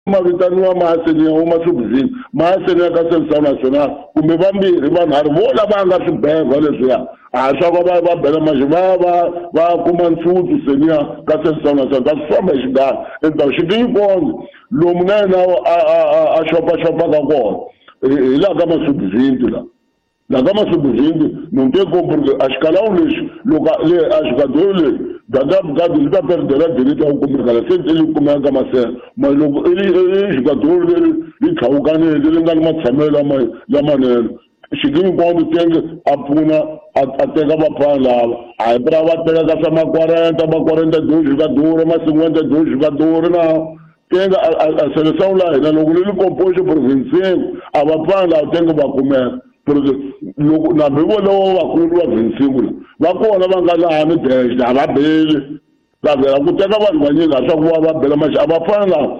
Ma vitaniwa maaseniya wo masubuzini maaseniya ka Seleção Nacional kumbe vambirhi vanharhu vo lava nga swibeva leswiya a swa ku va va bela maxi va va va kuma ntsutsu seniya ka Seleção Nacional ta swi famba hi xigana endzhaku xikinyikondzi lomu na yena a a a a xopaxopaka kona hi laha ka masubuzini la laha ka masubuzini non te compris a xikalawu lexi loko le a xikadoro leyi gada li ta perdela dirita ku kumeka la se li kumeka ka masela ma loko i i xikadoro leri li tlhawukaneke li nga ni matshamelo lama lamanene xikinyikondzi tenge a pfuna a teka vafana lava a hi pra va teka ka swa ma-quarenta ma-quarenta deux jogador ma-cinquanta deux jogador na tenge a seleção la hina loko li li composé provincial a vafana lava tenge va kumeka porque loko nambi volovo vakulu va vincingu la va kona va nga laha ni dexe a va beli va vhela ku teka vanhu vanyingi a swa ku va va bela maxi a va fana lava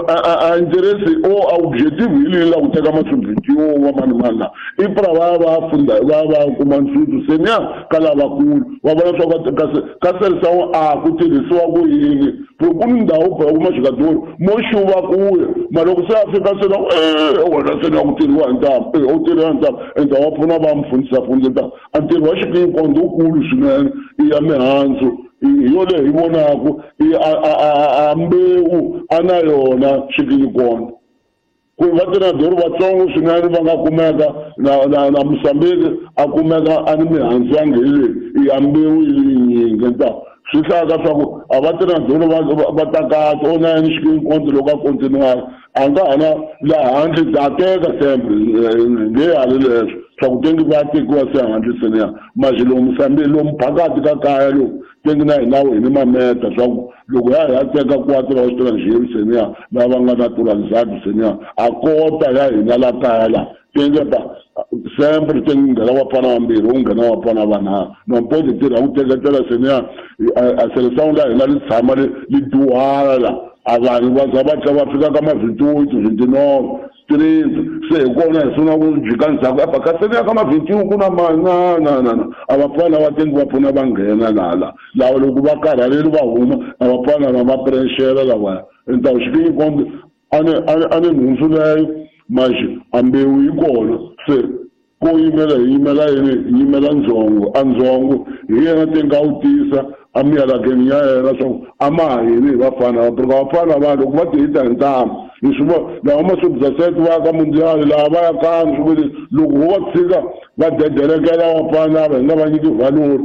a interesi o a objective hi leyi la ku teka masubject yo va mani mani la i pra va ya va funda va ya va kuma ntsutsu se niya ka lavakulu va vona swa ku kasi ka Seleção a ku tirhisiwa ku yini ku ni ndhawu phela kuma xikadoro mo xuva kuya ma loko se a fika se na e wena se na ku tirhiwa hi ntamu e u tirhiwa hi ntamu endzhaku wa pfuna va mi fundisa fundisa ntamu a ntirho wa xikinyikondo wukulu swinene i ya mihandzu hi yo leyi hi vonaku i a a a a mbewu a na yona xikinyikondo ku va tinadori vatsongo swinene va nga kumeka na na na Mozambique a kumeka a ni mihandzu ya ngheni i ya mbewu yi yinyingi nta swi hlaya ka swa ku a va tinadori va va ta kahle o na yena xikinyikondo loko a continuara a nga ha na laha handle ta teka sempre nge hali leswo swa ku tengi va tekiwa se handle seniya maxi lomu Mozambique lomu phakati ka kaya lomu tengi na hina hi ni mameta swa ku loko ya ya teka quatro wa extranjero seniya lava nga naturalizado seniya a kota ya hina la kaya la tenge ba sempre tengi nghena vafana vambirhi u nghena vafana vanharhu non pode tirha ku teketela seniya a seleção la hina li tshama li li duhala la a vanhu va za va tlha va fika ka ma 28 29 30 se hi kona hi sungula ku jika ndzhaku apa ka seniya ka ma 21 ku na ma na na na na a vafana va tengi va pfuna va nghena lala lava loko va karhaleli va huma a vafana va va pressure lavaya endzhaku xikinyikondo a ni a ni a ni nhundzu leyo maxi a mbewu yi kona se ko yimela hi yimela yini hi yimela ndzhongo a ndzhongo hi yena tengi a wu tisa a miyalakeni ya yena swa ku a ma ha yini hi vafana va porque vafana va loko va ti hita hi ntamu hi swi vona lava masubza set va ya ka mundial laha va ya kani swi vuli loko ho va tshika va dedelekela vafana lava hi nga va nyiki valori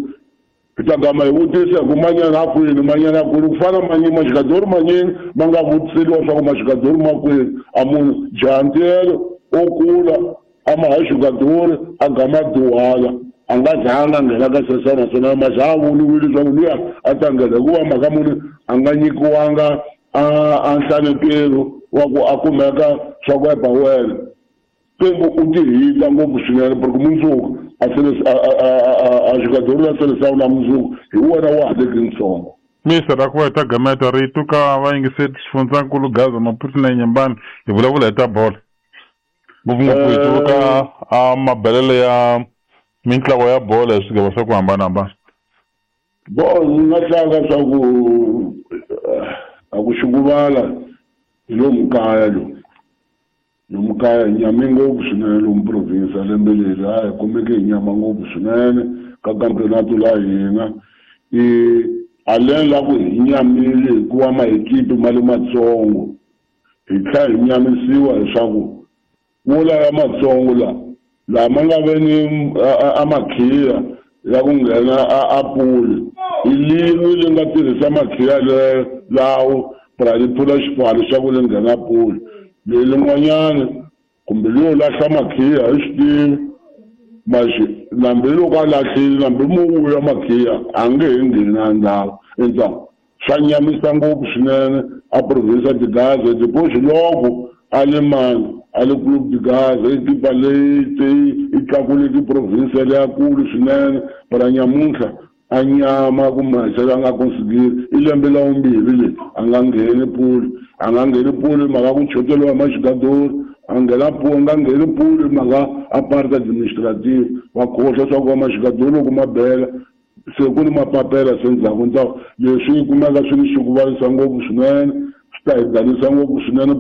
hi ta gama hi vutisa hi ku manyana a kwini manyana a kwini ku fana manyingi maxikadori manyingi ma nga vutiseliwa swa ku maxikadori ma kwini a munhu jantiyelo o kula a ma ha xikadori a gama duhala a nga zanga a nghena ka Seleção Nacional ma za a voniwile leswaku luya a ta nghena hikuva mhaka muni a nga nyikiwanga a a nhlanekelo wa ku a kumeka swa ku epa wena tengu u ti hita ngopfu swinene porque mundzuku a sele a a a a xikadori la Seleção na mundzuku hi wena wa ha leki ntsongo. Mr ra ku va hi ta gameta rito ka vayingiseri xifundzankulu Gaza Maputo na Nyembani hi vulavula hi ta bolo ngopfungopfu hi tsundzuka a mabelelo ya mintlawa ya bolo hi swigava swa ku hambanahambana. Bo ni nga hlanga swa ku a ku xikuvala hi lomu kaya lomu lomu kaya hi nyame ngopfu swinene lomu province lembe leri a hi kumeke hi nyama ngopfu swinene ka campeonato la hina i aleni la ku hi nyamile hikuva maekipi ma le matsongo hi tlhela hi nyamisiwa leswaku wo laya matsongo la lama nga ve ni a makhiya ya ku nghena a a puli i lin'we li nga tirhisa makhiya le lawo pra li pfula xipfalo xa ku li nghena puli leyi lin'wanyana kumbe leyo lahla makhiya hi swi tivi maxi nambi loko a lahlile nambi mo vuya makhiya a nge he ngheni a ndhawu endzhaku swa nyamisa ngopfu swinene a province de Gaza depois loko a le mani a le Clube de Gaza ekipa leyi te yi tlakuleke province leyakulu swinene para nyamuntlha a nyama kumbe se a nga consigiri i lembe la vumbirhi leyi a nga ngheni puli a nga ngheni puli mhaka ku choteriwa hi maxikadori a nghena puli a nga ngheni puli mhaka a parte administrative va khohlwa swa ku va maxikadori loko ma bela se ku ni mapapela se ndzhaku ndzhaku leswi yi kumeka swi ni xikuvalisa ngopfu swinene. Swi ta hi danisa ngopfu swinene.